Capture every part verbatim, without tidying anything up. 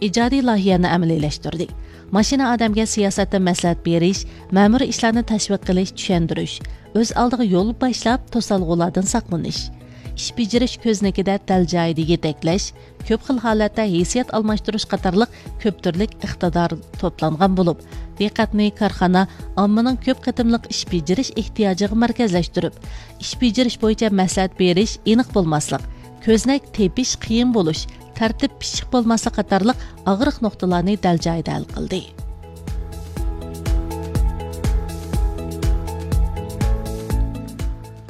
ئىجادىي لايىھەنى ئەمەلىيلەشتۈردى. ماشىنا ئادەمگە سىياسەتتە مەسلىھەت بېرىش، مەمۇرىي ئىشلارنى تەشۋىق قىلىش، چۈشەندۈرۈش، ئۆز ئالدىغا يول باشلاپ، توسالغۇلاردىن ساقلىنىش، ئىش بېجىرىش كۆزنىكىدە دەل جايىدا يېتەكلەش، كۆپ خىل ھالەتتە ھېسسىيات ئالماشتۇرۇش قاتارلىق كۆپ تۈرلۈك ئىقتىدار توپلانغان بولۇپ، دىققەتنى كارخانا، ئاممىنىڭ كۆپ قېتىملىق ئىش بېجىرىش ئېھتىياجىغا مەركەزلەشتۈرۈپ، ئىش بېجىرىش بويىچە مەسلىھەت بېرىش ئېنىق بولماسلىق، كۆزنەك تېپىش قىيىن بولۇش، تەرتىپ پىششىق بولماسلىق قاتارلىق ئاغرىق نۇقتىلارنى دەل جايىدا ھەل قىلدى.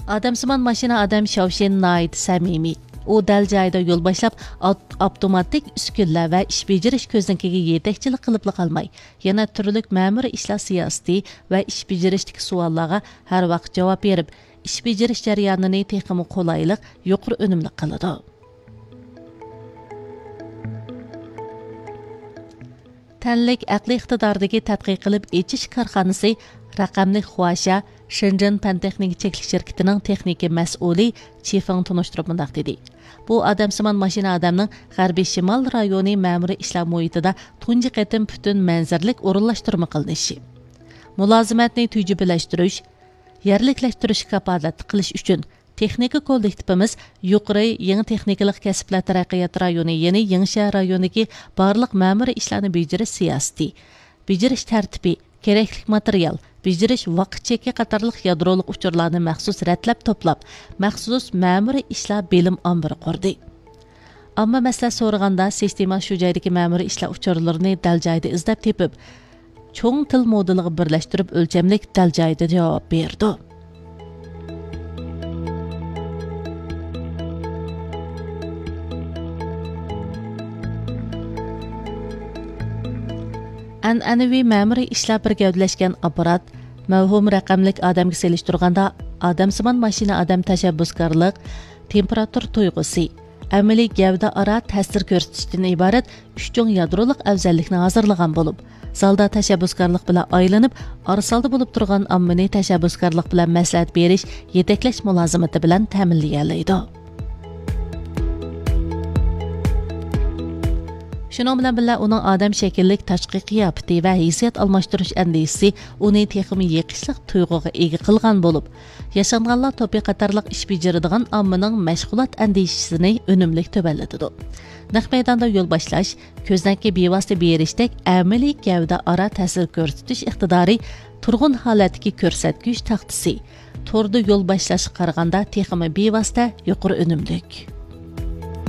ئادەمسىمان ماشىنا ئادەم شياۋشىن ناھايىتى سەمىمىي. ئۇ دەل جايىدا يول باشلاپ، ئاپ-، ئاپتوماتىك ئۈسكۈنىلەر ۋە ئىش بېجىرىش كۆزنىكىگە يېتەكچىلىك قىلىپلا قالماي، يەنە تۈرلۈك مەمۇرىي ئىشلار سىياسىتى ۋە ئىش بېجىرىشتىكى سوئاللارغا ھەر ۋاقىت جاۋاب بېرىپ، ئىش بېجىرىش جەريانىنى تېخىمۇ قولايلىق، يۇقىرى ئۈنۈملۈك قىلىدۇ. تەنلىك ئەقلىي ئىقتىداردىكى تەتقىق قىلىپ ئېچىش كارخانىسى رەقەملىك خۇاشيا شېنجېن پەن تېخنىكا چەكلىك شىركىتىنىڭ تېخنىكا مەسئۇلى چى فېڭ تونۇشتۇرۇپ مۇنداق دېدى: بۇ ئادەمسىمان ماشىنا ئادەمنىڭ غەربىي شىمال رايونى مەمۇرىي ئىشلار مۇھىتىدا تۇنجى قېتىم پۈتۈن مەنزىرىلىك ئورۇنلاشتۇرما قىلىنىشى. مۇلازىمەتنى تۈجۈپىلەشتۈرۈش، يەرلىكلەشتۈرۈشكە كاپالەتلىك قىلىش ئۈچۈن، تېخنىكا كوللېكتىپىمىز يۇقىرى يېڭى تېخنىكىلىق كەسىپلەر تەرەققىيات رايونى، يەنى يېڭىشەھەر رايونىدىكى بارلىق مەمۇرىي ئىشلارنى بېجىرىش سىياسىتى، بېجىرىش تەرتىپى، كېرەكلىك ماتېرىيال، بېجىرىش ۋاقىت چېكى قاتارلىق يادرولۇق ئۇچۇرلارنى مەخسۇس رەتلەپ توپلاپ، مەخسۇس مەمۇرىي ئىشلار بىلىم ئامبىرى قۇردى. ئامما مەسلىھەت سورىغاندا، سىستېما شۇ جايدىكى مەمۇرىي ئىشلار ئۇچۇرلىرىنى دەل جايىدا ئىزدەپ تېپىپ، چوڭ تىل مودېلىغا بىرلەشتۈرۈپ، ئۆلچەملىك دەل جايىدا جاۋاب بېرىدۇ. ئەنئەنىۋى مەمۇرىي ئىشلار بىر گەۋدىلەشكەن ئاپپارات، مەۋھۇم رەقەملىك ئادەمگە سېلىشتۇرغاندا، ئادەمسىمان ماشىنا ئادەم تەشەببۇسكارلىق، تېمپېراتۇرا تۇيغۇسى، ئەمەلىي گەۋدە ئارا تەسىر كۆرسىتىشتىن ئىبارەت ئۈچ چوڭ يادرولۇق ئەۋزەللىكنى ھازىرلىغان بولۇپ، زالدا تەشەببۇسكارلىق بىلەن ئايلىنىپ، ئارىسالدا بولۇپ تۇرغان ئاممىنى تەشەببۇسكارلىق بىلەن مەسلىھەت بېرىش، يېتەكلەش مۇلازىمىتى بىلەن تەمىنلىيەلەيدۇ. شۇنىڭ بىلەن بىللە، ئۇنىڭ ئادەم شەكىللىك تاشقى قىياپىتى ۋە ھېسسىيات ئالماشتۇرۇش ئەندىزىسى ئۇنى تېخىمۇ يېقىشلىق تۇيغۇغا ئىگە قىلغان بولۇپ، ياشانغانلار توپى قاتارلىق ئىش بېجىرىدىغان ئاممىنىڭ مەشغۇلات ئەندىشىسىنى ئۈنۈملۈك تۆۋەنلىتىدۇ. نەق مەيداندا يول باشلاش، كۆزنەككە بىۋاسىتە بېرىشتەك ئەمەلىي گەۋدە ئارا تەسىر كۆرسىتىش ئىقتىدارى تۇرغۇن ھالەتتىكى كۆرسەتكۈچ تاختىسى، توردا يول باشلاشقا قارىغاندا تېخىمۇ بىۋاسىتە يۇقىرى ئۈنۈملۈك.